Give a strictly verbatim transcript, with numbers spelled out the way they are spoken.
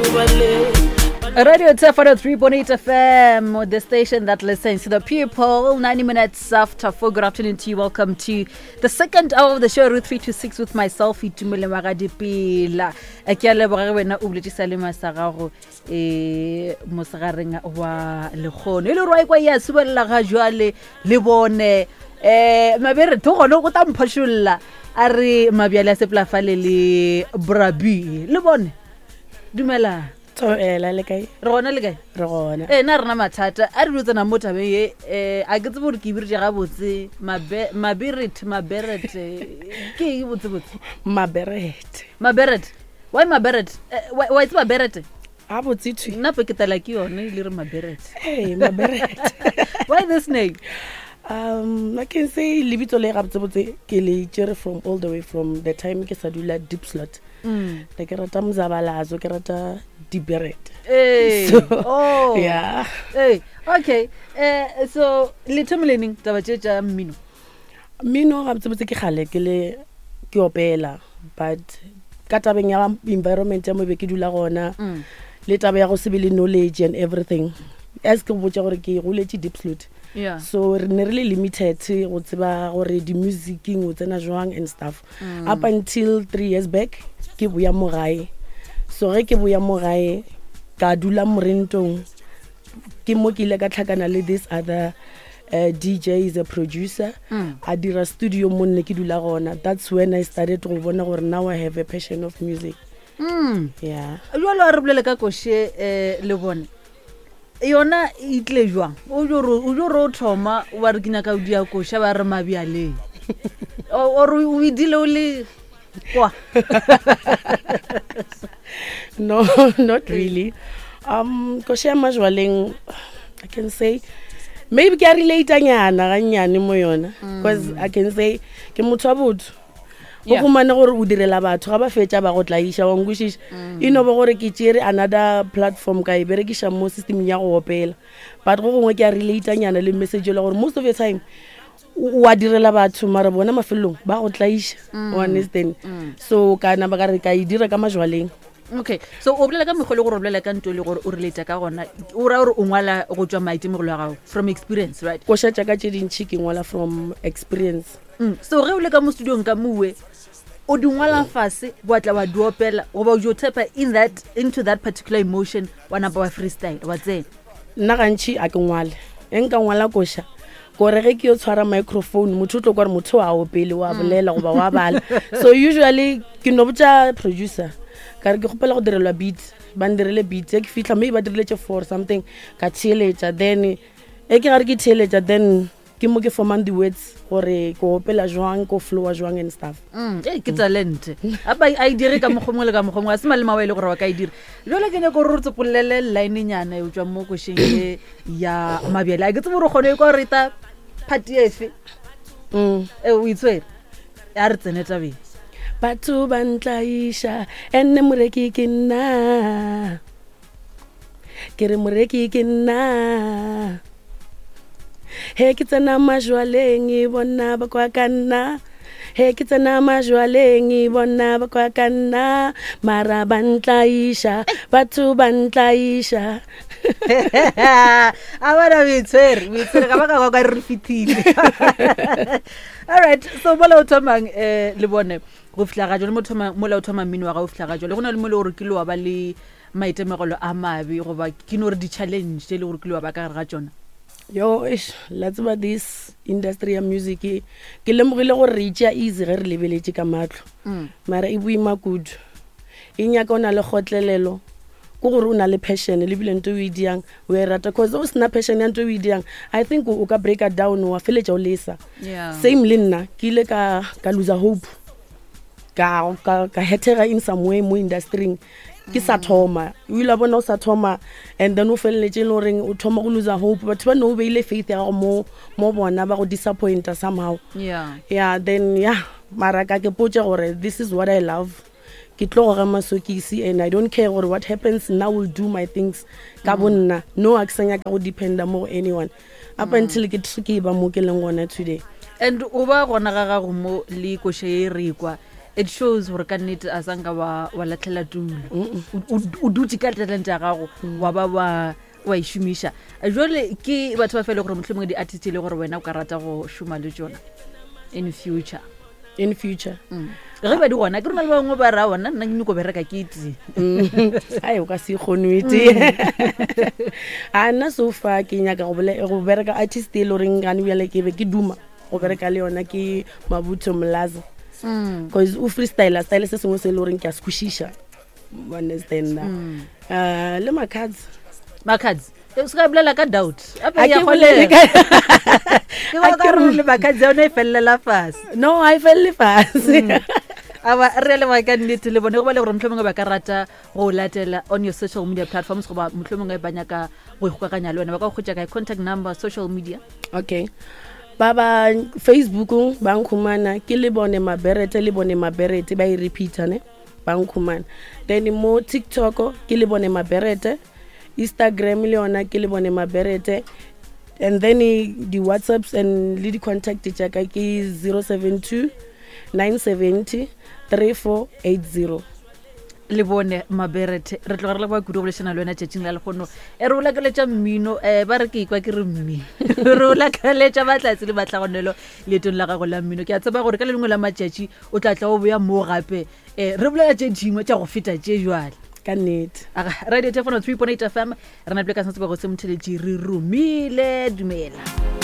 Radio Tefano three point eight F M, the station that listens to the people. ninety minutes after four. Good afternoon to you. Welcome to the second hour of the show, Route three to six, with myself, Itumele Magadipila. Ke a leboga ge wena o boletše sa le masa gago um mosegareng wa lekgono e le gore wa ikwa ya subelela ga jwale le bone um mabere tho gone go ta mphošolla a re mabjale a sepolafale le brabi le bone dumela. Thobela, le kae? Re gona, le kae? Re gona. Ee, na rena mathata a re dio tsena mo tabeng ye um a ke tsebe gore ke ibiritše gabotse maberet maberet ke eng botsebotse? Maberete. Maberet, why maberet? Eh, wa e tseba berete? A botse thwi. Nna pe ke tala ke yone e le re maberet. Ee, maberete. Why this name? um I can say lebitso le gabotsebotse ke le tšere from all the way from the time ke sa dula Diepsloot. Mm. Ne ke rata mozabalazo, ke rata diberete. Ee. So, oh. yeah. Ee, okay, um so le thomile neng taba tše tša mmino? Mmino gabotsebotse ke kgale ke le ke opela, but ka tabeng ya environment ya mo be ke dula gona Mm. le taba ya go se be le knowledge and everything, as ke go botša gore ke goletše Diepsloot, yeah so re ne re le limited go tseba gore di-musicing o tsena jwang and stuff mm. up until three years back ke boya mo gae. So ge ke boya mo gae ka dula morentong, ke mo ke ile ka tlhakana le this other uh, D J, is a producer, Mm. a dira studio mo nne ke dula gona. That's when I started go bona gore now I have a passion of music. Mm. Yeah. Jalo a re bolele ka koše um le bone yona e tlile jwang? O jo re o jo re o thoma wa re ke nyaka o dia koša ba re mabjaleng or o edile o le kwa? No, not really. um koša ya majwaleng, I can say maybe ke a relate nyana gannyane mo yona, because I can say ke motho wa botho o Yeah. humane gore o direla batho ga ba fetša ba go tlaiša, wa nkwešiša? E no ba gore ke tšere another platform ka e berekiša mo systemeng ya go opela, but go gongwe ke a relate nyana le message ele gore most of the time o a direla batho mara bona mafelelong ba go tlaiša, o understand? So ka napa ka re ka e dira ka majwaleng. Okay, so o bolela ka mekgwa le gore o bolela ka nto e le gore o relata ka gona, o raya gore o ngwala go tswa maitemogelo a gago, from experience, right? Koša tša ka tše dintšhi ke ngwala from experience. mm. so ge o le ka mo studiong ka mowe o di ngwala fase wa tla wa di opela goba o jo tapa in that into that particular emotion wa napa wa freestyle wa tsena? Nna gantšhi a ke ngwale. E nka ngwala koša kore ge ke yo tshwara microphone motho o tlo kwa gore motho a opele wa bolela goba wa bala. So usually ke no botša producer ka re ke kgopela go direlwa beat, ba ndirele beat. E ke fitlha maybe ba dirile tše four something, ka theeletša, then e ke gare ke theeletša, then ke mo ke formang di-words gore ke opela jwang, ko flowa jwang and stuff. Mm, ee, ke talente apa a e dire ka mokgwa mongwe le ka mokgwa mongwe, a se malema wa e le gore wa ka e dira. Jale ke nyako gore re tsopolele linenyana e o tswa mo košeng e ya mabjale. A ke tsebe gore o kgone e kwa reta party efe. mm. E o itshwere, a re tsene tabeng. Batho ba ntlaiša enne moreki ke nna, ke re moreki ke nna. He ke tsena majwaleng e bona ba kwa ka nna, he ke tsena majwaleng e bona ba kwa ka nna, mara ba ntlaiša, batho ba ntlaiša. A bona o itshwere, o itshwere ka baka kwa ka re re fetile. Alright, so mola o thomang um le bone go fitlha ga jale mo thoma- mola o thoma mmino wa ga o fitlha ga jale, go na le mo le gore ke le wa ba le maitemogelo a mabe goba ke no re di-challenge tse e le gore ke le wa ba ka gare ga tsona? Yo, eish, la tseba this industry ya music e, ke lemogile gore re itšea easy ge re lebeletše ka matlho, mara e boima kudu. E nyaka o na le kgotlelelo, ke gore o na le passion le bile nto o e diang o e rata, cause o sena passion ya nto o e diang, I think o ka breaka down wa feletša o lesa. Yeah. Same le nna ke ile ka ka lose hope, ka ka ka hethega in some way mo industryng ke sa thoma. O ile wa bona o sa thoma and then o feleletse e le goreng o thoma go lose hope, batho ba ne o beile faith ya gago mo mo bona ba go disappointa somehow. Yeah yeah, then yeah, mara ka ke potse gore this is what I love, ke tlo goga masokisi and I don't care gore what happens. Now will do my things ka bo nna. No, a ke sa nyaka go dependa mo go anyone up until ke ke ba mo ke leng gona today. And o ba gona ga gago mo le koša e re kwa. It shows gore ka nnete a sanka wa wa latlhela tulo. O- o o dutse ka talent ya gago, wa ba wa wa e šomiša. Jale ke batho ba fele gore mohlomongwe di-artist e le gore wena o ka rata go šoma le tsona in future? In future? Mm. Ge ba di gona, ke rona le bangwe ba ra ona, nna ke nyako bereka ke tee. Ai, o ka se kgone o tee. A nna so far ke nyaka go bole- go bereka artist e le goreng gane bjale ke be ke duma go bereka le yona ke Mabutho Mlaza, cause o freestyler style se sengwe se e le goreng ke a se kwešiša. O understand na? Uh, le Makhadzi. Makhadzi, Eh, se ka bolela ka doubt. Ape Ha ya ke bolele kgonega. ka- Ke bona Ha ke ka re re- le Makhadzi yone e felela fase. No, ha e felele fase. Aba re a leboga ka nnete le bone go ba le gore mohlomongwe ba ka rata go latela on your social media platforms, goba mohlomongwe ba nyaka go ikgokaganya le wena, ba ka go hwetša kae? Contact number, social media. Okay, ba ba Facebookong ba nkhumana ke le bone Maberete, le bone Maberete ba e repeata ne, ba nkhumana. Then mo TikTok ke le bone Maberete, Instagram le yona ke le bone Maberete, and then eh, di-WhatsApps and le di-contact tša ka ke zero seven two nine seventy three four eight zero. Le bone Maberete, re tloga re leboga kudu go bolešana le wena tšatšing la lekgono. E re o lakaletša mmino, um ba re ke ikwa ke re mmi, re o lakaletša batlatse le batlagonelo leetong la gago la mmino. Ke a tseba gore ka le lengwe la matšatši o tla tla o boya mo gape, um re bolela tše dingwe tša go feta tše jwale. Ka nnete. Aga, radio telefono three point eight F M, re napile ka setsebego se motheletši re romile. Dumela.